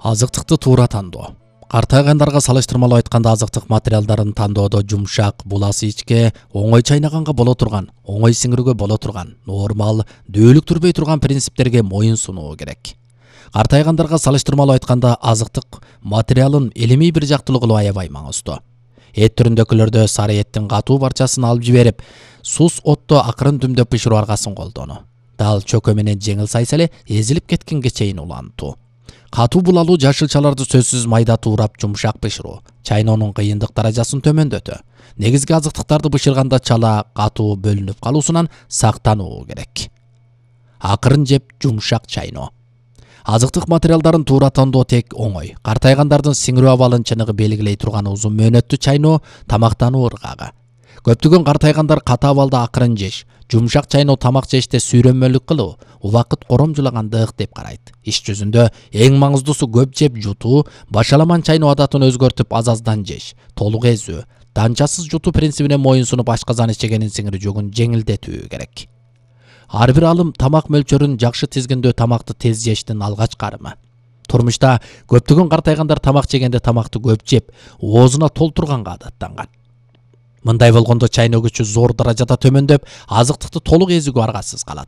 Азыктыкты туура тандоо. Картайгандарга салыштырмалуу айтканда азыктык материалдарын тандоодо жумшак, буласы ичке, оңой чайнаганга боло турган, оңой сиңирүүгө боло турган, нормал, дөөлүктүрбөй турган принциптерге моюн сунуу керек. Картайгандарга салыштырмалуу айтканда азыктык материалын илимий бир жактылуу кылып аябай маңыздуу. Эт түрүндөгүлөрдө сары эттин катуу барчасын алып жиберип, сус отто акырын дүмдөп бышыруу аргасын колдонуу. Дал чөкө менен жеңил сайса эле эзилип кеткенге чейин улантуу. Катуу булалуу жашылчаларды сөзсүз майда туурап жумшак бышыруу, чайноонун кыйындык даражасын төмөндөтө. Негизги азыктыктарды бышырганда чала катуу бөлүнүп калуусунан сактануу керек. Акырын жеп жумшак чайноо. Азыктык материалдарын туура тандоо тек оңой. Картайгандардын сиңирүү абалын чыныгы белгилей турган узун мөөнөттүү чайноо тамактануу ыргагы. Көптөгөн картайгандар ката абалда акырын жеш, жумшак чайноо тамак жеште сүйрөнмөлүк кылуу, убакыт коромжулагандык деп карайт. Иш жүзүндө эң маңыздуусу көп жеп жутуу, башаламан чайноо адатын өзгөртүп аз-аздан жеш, толук эзүү, данчасыз жутуу принцибине моюн сунуп ашказан ичегенин сиңирүү жогун жеңилдетүү керек. Ар бир алым тамак мөлчөрүн жакшы тизгиндөө тамакты тез жештин алгачкы арымы. Турмушта көптөгөн картайгандар тамак жегенде тамакты көп жеп, оозуна толтурганга адаттанган. Мындай болгондо чайноо күчү зор даражада төмөндөп, азыктыкты толук эзүүгө аргасыз калат.